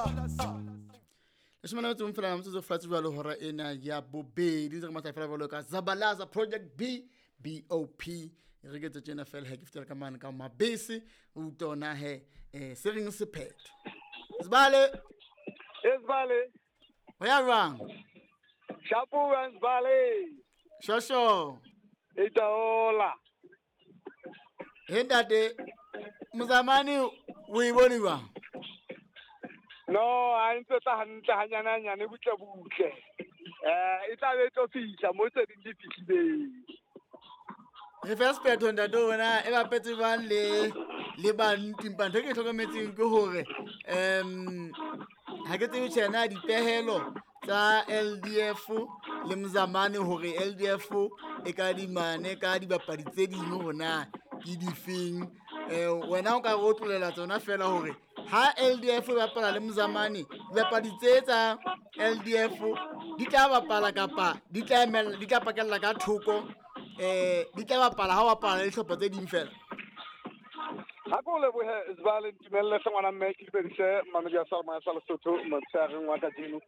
Leshome le metso e fela metsotso fatshe jwalo hora ena ya bobedi ntse re matla fela jwalo ka Zabalaza Project B BOP re ke tse tjena fela he ke fetela ka mane ka mabese o utlwa he se reng sephetho Sibale. Sibale. Ho ya jwang? Shapo Sibale. Shosho. Itaola. He ntate Mozamane o e bone jwang? No, a ntse tla hantle hanyane hanyane butle butle. E tla be tlo fihla mo tse ding di fihlileng. Re fa sephetho ntate wena e bapetse jwang le bantu empa ntho e ke hlokometseng ke hore ha ke tsebe tjhena dipehelo tsa LDF le Mozamane hore LDF e ka dimane ka dibapadi tse ding hore na ke difeng. Wena o ka re otlolela tsona fela hore ha LDF e bapala le Mozamane dibapadi tse tsa LDF di tla bapala kapa di tla emela di tla pakella ka thoko di tla bapala ha bapala le dihlopha tse ding fela. Ha ko lebohe Sibale ntumelle hle ngwana mme ke dumedise mamedi ya Salma sa Lesotho motsheareng wa kajeno.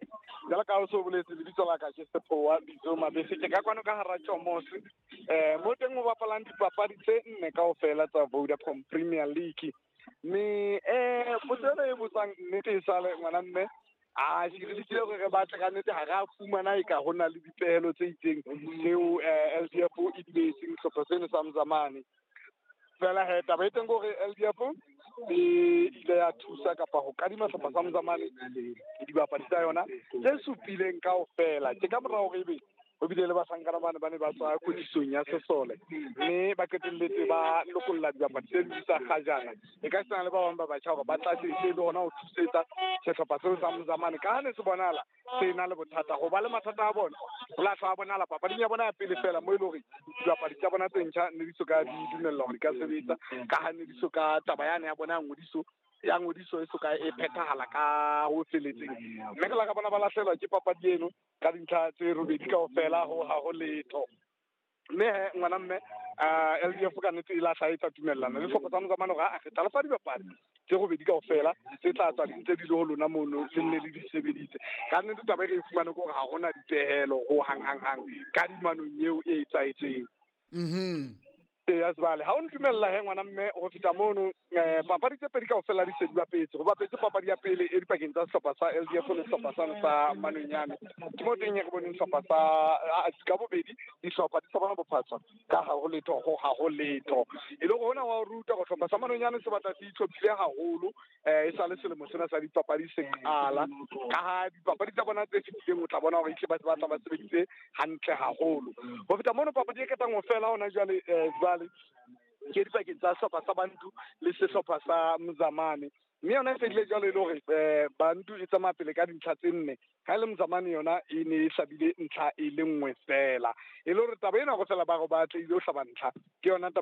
Jwalo ka ha o so boletse lebitso la ka ke Sephowa Bitso Mabese ke ka kwano ka hara Tjomose mo teng ho bapalang dipapadi tse nne kaofela tsa Vodacom Premier League. Mme potso ena e botsang nnete e sale ngwana mme a re lekile hore re batle ka nnete ha re a fumana e ka ho na le dipehelo tse itseng tseo LDF e di behetseng sehlopha seno sa Mozamane. Fela he taba e teng ke hore LDF e ile ya thusa kapa ho kadima sehlopha sa Mozamane dibapadi tsa yona tse supileng kaofela. Ke ka mora hore ebe ho bile le bahlankana bane ba ne ba tswa kwetlisong ya sesole mme ba qetelletse ba lokolla dibapadi tse ding tsa kgajana e ka sena le ba bang ba batjha hore ba tlatse e le hona ho thusetsa sehlopha seo sa Mozamane ka ha ne se bonahala se na le bothata ho ba le mathata a bona ho lahla a bonahala papading ya bona ya pele fela mo e le hore dibapadi tsa bona tse ntjha ne di so ka di dumellwa hore di ka sebetsa ka ha ne di so ka taba yane ya bona ya ngodiso e so ka e phethahala ka ho feletseng mme ke la ka bona ba lahlelwa ke papadi eno ka dintlha tse robedi kaofela ho ha ho letho. Mme he ngwana mme LDF ka nnete e lahla e tsa tumellana le sehlopha sa Mozamane hore a re tla lefa dibapadi tse robedi kaofela tse tla tswa di ntse di le ho lona mono le nne le di sebeditse. Ka nnete taba e re e fumane ke hore ha hona dipehelo ho hang hang hang kadimanong eo e etsahetseng. Eya Sibale ha o ntumella he ngwana mme ho feta mono papadi tse pedi kaofela di se di bapetse. Ho bapetse papadi ya pele e dipakeng tsa sehlopha sa LDF le sehlopha sa Manonyane. Ke mo teng re boneng sehlopha sa ka bobedi dihlopha di sa bona bophatswa ka ha ho letho ho ha ho letho. E le hore hona wa ruta hore sehlopha sa Manonyane se batla se itlhophile haholo e sa le selemo sena sa dipapadi se qala. Ka ha dipapadi tsa bona tse fetileng o tla bona hore ehlile ba batla ba sebeditse hantle haholo. Ho feta mono papadi e qetang ho fela hona jwale Sibale ke dipakeng tsa sehlopha sa Bantu le sehlopha sa Mozamane. Mme yona e fedile jwalo e le hore Bantu e tsamaya pele ka dintlha tse nne ha e le Mozamane yona e ne e hlabile ntlha e le nngwe fela. E le hore taba ena kaofela ba re ba atlehile ho hlaba ntlha ke yona.